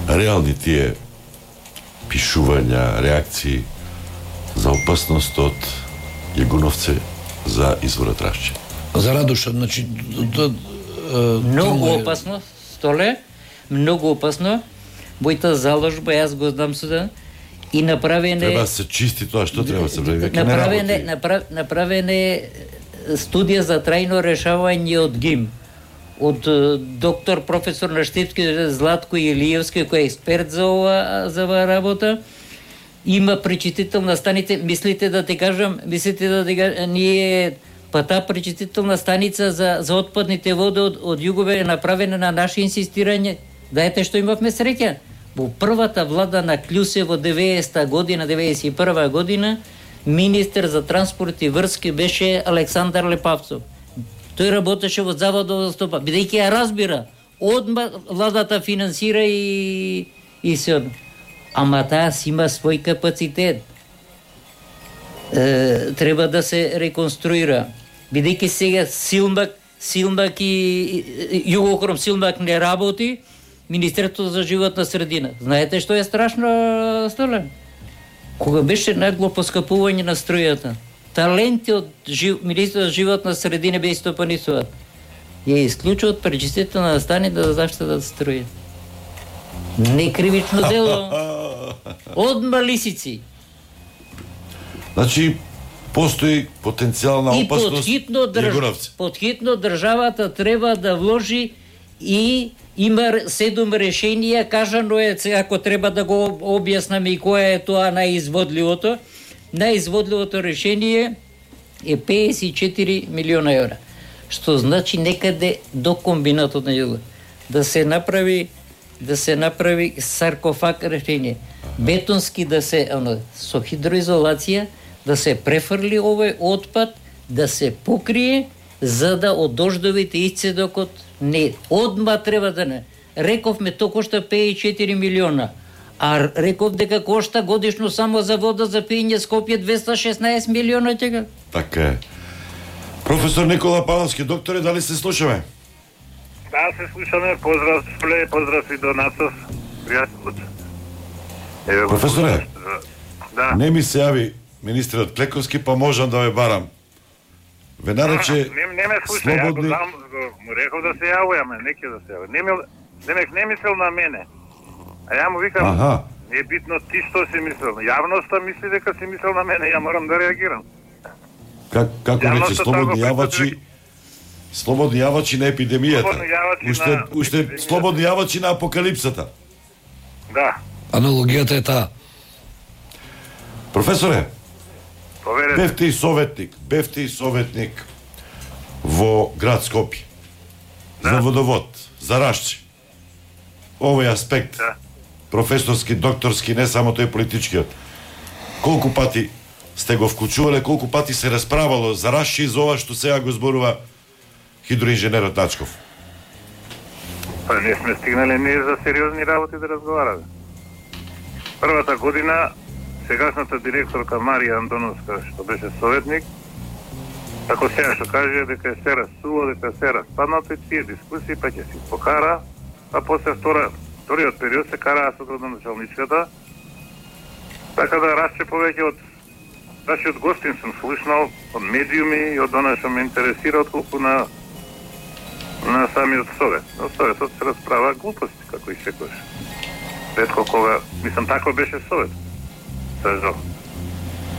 реални тие пишувања, реакции за опасност од Јагуновце за изворот Рашче? За Радоша, значи... Да, многу е... опасно, Столе, многу опасно. Мојата заложба, јас го знам суда, и направене... Треба да се чисти тоа, што треба да се прави? Направене, направ, направене студија за трајно решавање од ГИМ, од доктор професор на Штипски Златко Илиевски, кој е експерт за ова, за ова работа. Има пречистителна станица, мислите да ти кажам, мислите да ти кажам, ние па таа пречистителна станица за, за отпадните води од, од Југове е направена на наше инсистирање. Дајте што имавме среќа. Во првата влада на Клюсе во деветдесета година, деветдесет и прва година, министер за транспорт и врски беше Александар Лепавцов. Тој работеше во Заводот за стопа, бидејќи ја разбира, одма владата финансира и и се. Ама таа си има свој капацитет. Е, треба да се реконструира. Бидејќи сега Силмак, Силмак и Југохром Силмак не работи, Министерството за животна средина. Знаете што е страшно, Столе? Кога беше нагло поскапување на струјата, таленти од жив... Министерството за животна средина бе истопанисуваат. Ја исклучуваат пречистителна станица за заштита струја. Не кривично дело. Одма лисици. Значи, постои потенцијална опасност и Јагуновци. Подхитно државата треба да вложи и има седум решенија, кажано е, ако треба да го објаснаме и кое е тоа најизводливото. Најизводливото решение е педесет и четири милиона евра. Што значи некаде до комбинатот на Југо. Да се направи да се направи саркофаг решение. Бетонски да се, оно, со хидроизолација, да се префрли овој отпад, да се покрие, за да од дождовите исцедокот не. Одма треба да не. Рековме, то кошта педесет и четири милиона. А реков дека кошта годишно само за вода за пиење Скопје двеста и шеснаесет милиона тега. Така е. Професор Никола Павловски, докторе, дали се слушаме? Да, се слушаме. Поздрав, Спле, поздрав и до Нацов. Пријатно. Професоре, да. Не ми се јави министерот Клековски, па можам да ве барам. Ве нарече не, не ме слуша, слободни... ја го дам, му реков да се јавуваме, неќе да се јавува. Не, мил, не, не мислел на мене. А ја му викам, Аха. не е битно ти што си мислел. Јавноста мисли дека си мислел на мене, ја морам да реагирам. Как, како рече, слободни јавачи, слободни јавачи на епидемијата. Уште, на... уште слободни јавачи на апокалипсата. Да. Аналогијата е таа. Професоре, Поверете. бевте и советник, бевте и советник во град Скопје. Да. За водовод, за Рашче. Овој аспект, да. Професорски, докторски, не само тој политичкиот. Колку пати сте го вклучувале, колку пати се расправало за Рашче и за ова што сега го зборува хидроинженерот Начков? Па не сме стигнале ние за сериозни работи да разговараме. Првата година сегашната директорка Марија Антоновска, што беше советник, ако сега што каже дека е се расуло, дека се распаднато и тие дискусии, па ќе си покара, а после втора, вториот период се караа со градоначалничката, така да Рашче повеќе од нашиот гостин сум слушнал, од медиуми и од она што ме интересира, отколку на на самиот совет. Но советот се расправа глупости, како и секојаш. Ретко кога, мислам, тако беше совет. Сажо.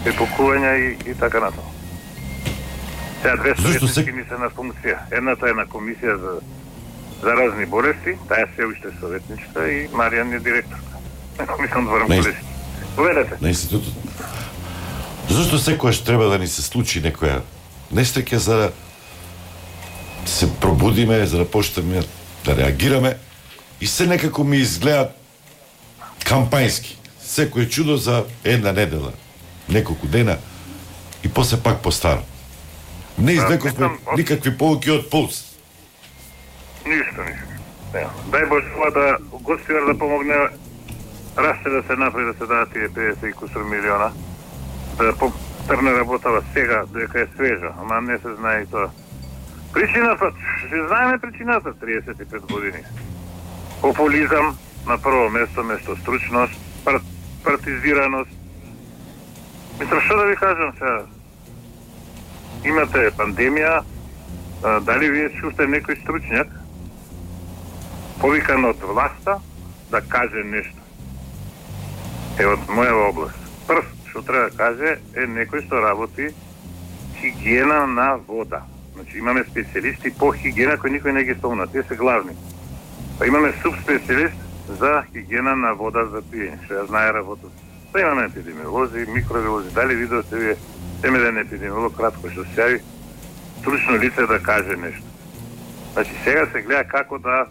Епокувања и, и така натаму. Сега две советници се... ми се на функција. Едната е на комисија за заразни болести, таа се уште советничка и Маријан е директорка. Мислам да варам колешки. Поведете. На институтот. Зашто секојаш треба да ни се случи некоја несреќа за да се пробудиме, за да почнеме да реагираме и се некако ми изгледа кампањски. Секој чудо за една недела, неколку дена и после пак постаро. Не извлековме никакви поуки од пулс. Ништо, ништо. Дај Боже да гостинар да помогне Рашче да се направи да се дадат тие педесет и кусур милиона, да, по, филтер не работава сега, дека е свежа, ама не се знае и тоа. Причината, се знаеме причината, триесет и пет години. Популизам на прво место, место стручност, пар, партизираност. Мислам, што да ви кажам сега? Имате пандемија, а, дали вие чувате некој стручњак повикан од власта да каже нешто? Е, од моја област. Прв, што треба да каже, е некој што работи хигиена на вода. Значи, имаме специјалисти по хигиена кои никој не ги спомна, те се главни. Па имаме субспецијалист за хигиена на вода за пиење, што ја знае работа. Па имаме епидемиолози, микробиолози, дали видовте вие темеден епидемиолог кратко што се јави стручно лице да каже нешто. Значи, сега се гледа како да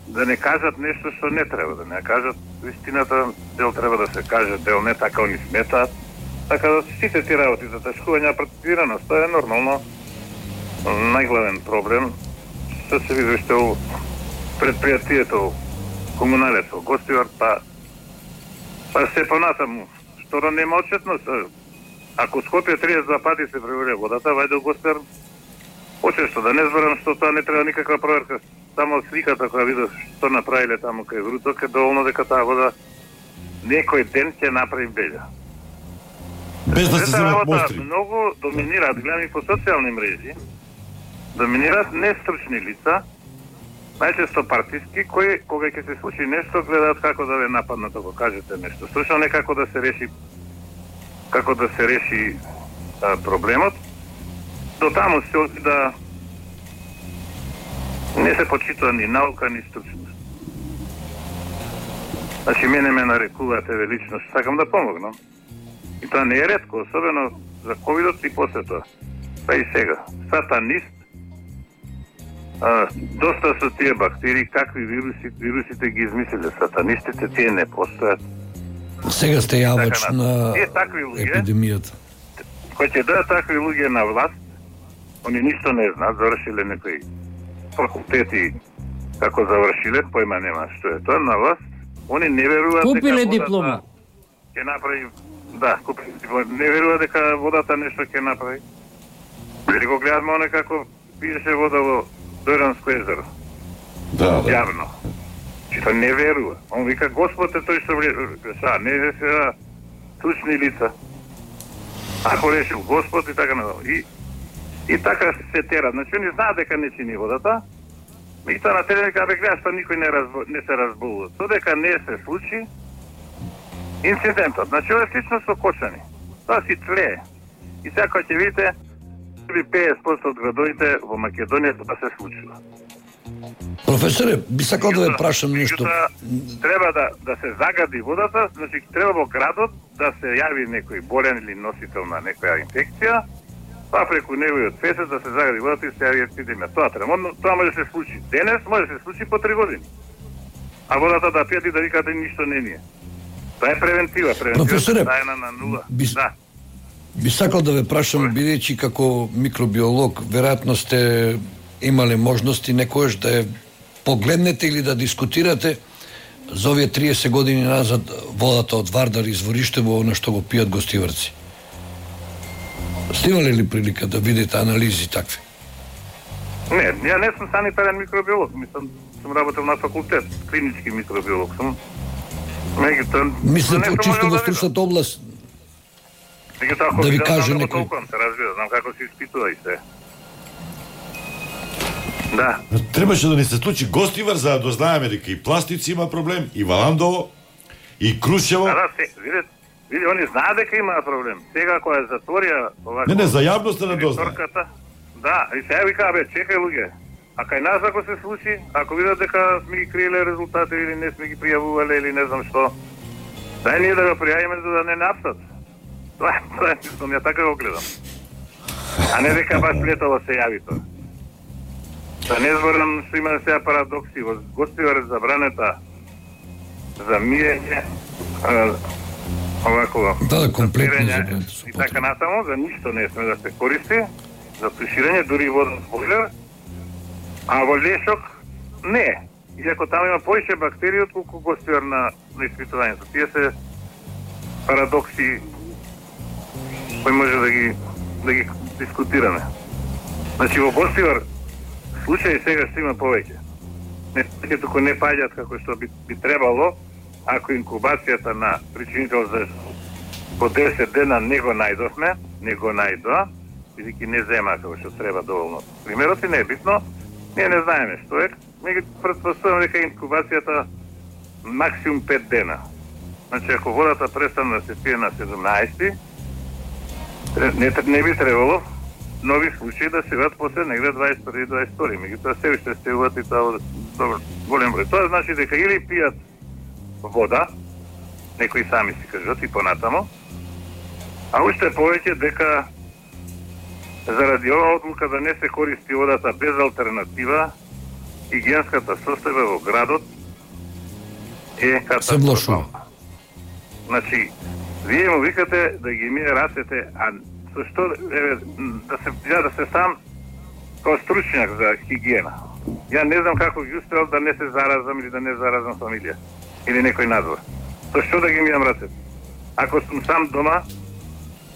да не кажат нешто што не треба, да не кажат вистината, дел треба да се каже, дел не, така они сметаат. Така да сите ти работи за тешкување партизираност, тоа е нормално. Најглавен проблем што се види што у предпријатието комуналецо, Гостивар, па па се понатаму, што да нема отчетност. Ако Скопје триесет и два пати се преврија водата, вајде Гостивар почесто, да не зборам што тоа не треба никаква проверка. Само сликата која видов што направиле таму кај Вруток е доволно дека таа вода некој ден ќе направи белја. Без да се земат мостри. Многу доминираат, гледам и по социјални мрежи, доминираат нестручни лица, најчесто партиски, кои кога ќе се случи нешто гледаат како да ве нападнат ако кажете нешто. Слушно не како да се реши како да се реши а, проблемот. До таму се оди да не се почитува ни наука, ни стручност. Значи, мене ме нарекуваат велично, што сакам да помогнам. И тоа не е ретко, особено за ковидот и после тоа. Па и сега. Сатанист, а, доста со тие бактерии, какви вируси, вирусите ги измислиле сатанистите, тие не постојат. Сега сте јавач така, на епидемијата. Кои ќе дадат такви луѓе на власт, они ништо не знаат, завршиле некои факултети, како завршиле, појма нема што е тоа, на власт, они не веруваат купиле диплома. Ќе направи, да, купиле диплома, не веруваат дека водата нешто ќе направи. Дали го гледаме оне како пиеше вода во Дојранско езеро. Да, да. Јавно. Што не верува. Он вика, Господ е тој што влеша, не е сега стручни лица. Ако решил Господ и така надолу. И, и така се тера. Значи, они знаат дека не чини водата, и тоа на терен дека бе гледаш, па никој не, разбо, не се разболува. Додека не се случи инцидентот. Значи, ова е слично со кочани. Тоа си тлее. И сега кога ќе видите, петдесет проценти од градовите во Македонија тоа се случува. Професоре, би сакал да ве прашам нешто. Треба да, да се загади водата, значи треба во градот да се јави некој болен или носител на некоја инфекција, па преку неговиот фесет да се загади водата и се јави епидемија. Тоа треба, тоа може да се случи денес, може да се случи по три години. А водата да пијат и да викате ништо не ни е. Тоа е превентива, превентива е тајна на нула. Би, да. би сакал да ве прашам, бидејќи како микробиолог, веројатно сте имале можности некојаш да е погледнете или да дискутирате за овие триесет години назад водата од Вардар извориштево, она што го пијат гостиварци. Сте имале ли прилика да видите анализи такви? Не, ја не сум санитарен микробиолог, мислам, сум работел на факултет, клинички микробиолог сум. Меѓутоа, мислам, чисто во стручната област, да ви каже некој. Се разбира, знам како се испитува и се. Да. Требаше да ни се случи Гостивар за да дознаеме дека и Пластици има проблем, и Валандово, и Крушево. Да, да, се, видите, види, они знаат дека има проблем. Сега кога е затворија овако... Не, не, за јавноста не дознае. Да, и сега вика, бе, чекај луѓе. А кај нас ако се случи, ако видат дека сме ги криеле резултати или не сме ги пријавувале или не знам што, дај ние да го пријавиме за да не напсат. Тоа е, тоа е, ја така го гледам. А не дека баш летово се јави тоа. Да не зборам што има сега парадокси. Во Гостивар е забранета за миење, овако, да, комплетно забранета. И така натаму, за ништо не сме да се користи, за туширање, дури и воден бойлер, а во Лешок не. Иако таму има поише бактерии отколку Гостивар на, на испитувањето. Тие се парадокси кој може да ги да ги дискутираме. Значи во Бостивар случаи сега што има повеќе. Не ќе туку не паѓаат како што би, би требало, ако инкубацијата на причинител за по десет дена не го најдовме, не го најдоа, бидејќи не зема како што треба доволно. Примерот и не е битно, ние не знаеме што е, ми ги претпоставувам дека инкубацијата максимум пет дена. Значи ако водата престане да се пие на седумнаесети, не, не би требало нови случаи да се ват после негде дваесет и први дваесет и втори. Меѓутоа се уште се uvат и тоа добро голем број. Тоа значи дека или пијат вода, некои сами си кажат и понатамо, а уште повеќе дека заради оваа одлука да не се користи водата без алтернатива, хигиенската состојба во градот е катастрофална. Значи, вие му викате да ги мие рацете, а со што еве да се ја да се сам како стручњак за хигиена. Ја не знам како ги успел да не се заразам или да не заразам фамилија или некој надвор. Со што да ги мијам рацете? Ако сум сам дома,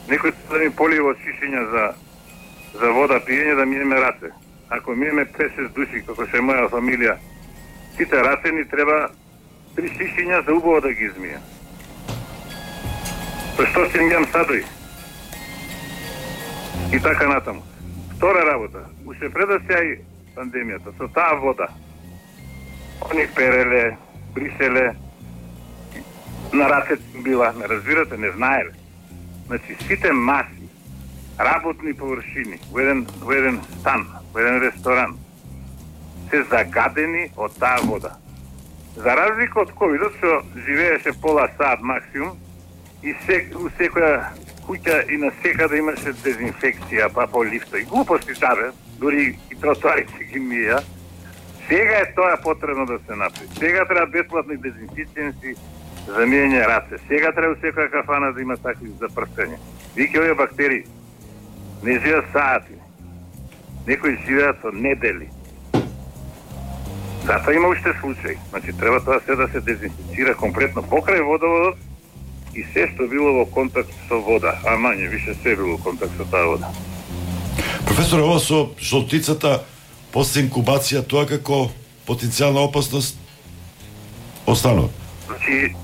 некој да ми полива од шишиња за за вода пиење да миеме раце. Ако миеме пет-шест души, како што е моја фамилија, сите раце ни треба три шишиња за убаво да ги измијам. Со што си мијам садој? И така натаму. Втора работа, уште пред да се јави пандемијата, со таа вода, они переле, бриселе, на рацете била, не разбирате, не знаеле. Значи, сите маси, работни површини, во еден, во еден стан, во еден ресторан, се загадени од таа вода. За разлика од ковидот, што живееше пола саат максимум, и се, у секоја куќа и на секаде имаше дезинфекција, па по лифта и глупости табе, дури и тротоарите ги мија. Сега е тоа потребно да се направи. Сега треба бесплатни дезинфициенси за мијање раце. Сега треба секоја кафана да има такви за прстење. Вики овие бактерии не живеат саати. Некои живеат со недели. Затоа има уште случаи. Значи треба тоа се да се дезинфицира комплетно покрај водоводот и се што било во контакт со вода, а мање више се било во контакт со таа вода. Професор, ова со жолтицата после инкубација, тоа како потенцијална опасност останува? Значи,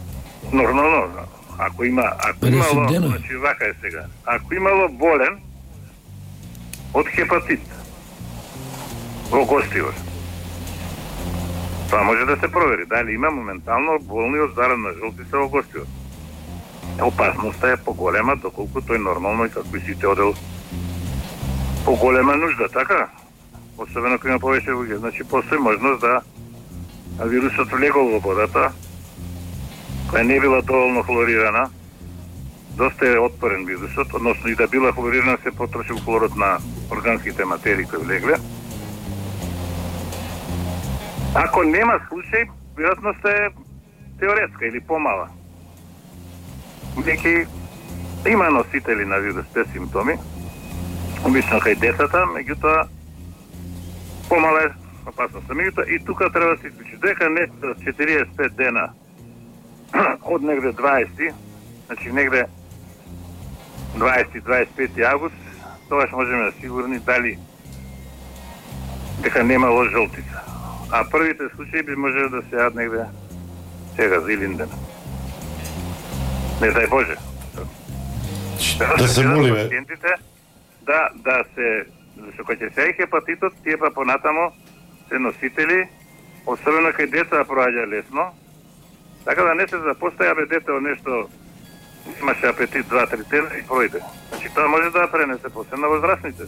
нормално, ако има, ако имало, значи вака е сега, ако имало болен од хепатит во Гостивар, тоа може да се провери, дали има моментално болни од заразна жолтица во Гостивар. Опасноста е поголема, доколку тој нормално и како и сите одел поголема нужда, така? Особено кога има повеќе луѓе. Значи, постои можност да вирусот влегол во водата, која не била доволно хлорирана, доста е отпорен вирусот, односно и да била хлорирана се потрошил хлорот на органските материи кои влегле. Ако нема случај, веројатноста е теоретска или помала. Неки има носители на вирус без симптоми, обично кај децата, меѓутоа помала е опасноста. Меѓутоа и тука треба да се изключи дека не за четириесет и пет дена од негде дваесети, значи негде дваесети до дваесет и пети август, тогаш можеме да сигурни дали дека немало жолтица. А првите случаи би можело да се јават негде сега за Илинден. Не дај Боже. Да се молиме. Да, да се, зашто кога ќе се јави хепатитот, тие па понатамо се носители, особено кај деца проаѓа лесно, така да не се запоставја бе дете од нешто, имаше апетит два-три дена и пројде. Значи тоа може да пренесе после на возрастните.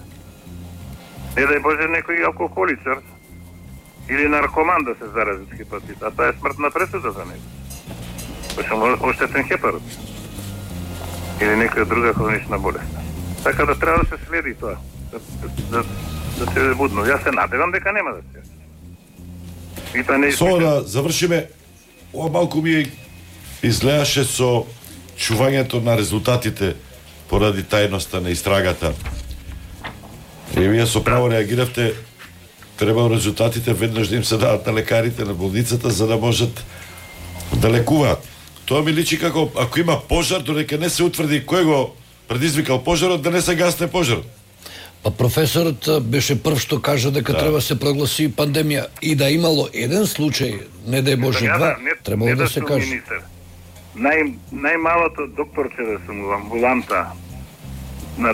Не дај Боже некој алкохоличар или наркоман да се зарази од хепатит, а тоа е смртна пресуда за него. Пошто оштетен хепарот. Или некоја друга хронична болест. Така да треба да се следи тоа. Да, да, да се будно. Јас се надевам дека нема да се. И тоа не Со да завршиме, ова малку ми изгледаше со чувањето на резултатите поради тајноста на истрагата. И вие со право реагиравте, треба резултатите веднаш да им се дадат на лекарите на болницата за да можат да лекуваат. Тоа ми личи како ако има пожар, додека не се утврди кој го предизвикал пожарот, да не се гасне пожарот. Па професорот беше прв што кажа дека да. треба се прогласи пандемија и да имало еден случај, не да е Боже два, требало да се каже. Нај, најмалото докторче да сум во амбуланта на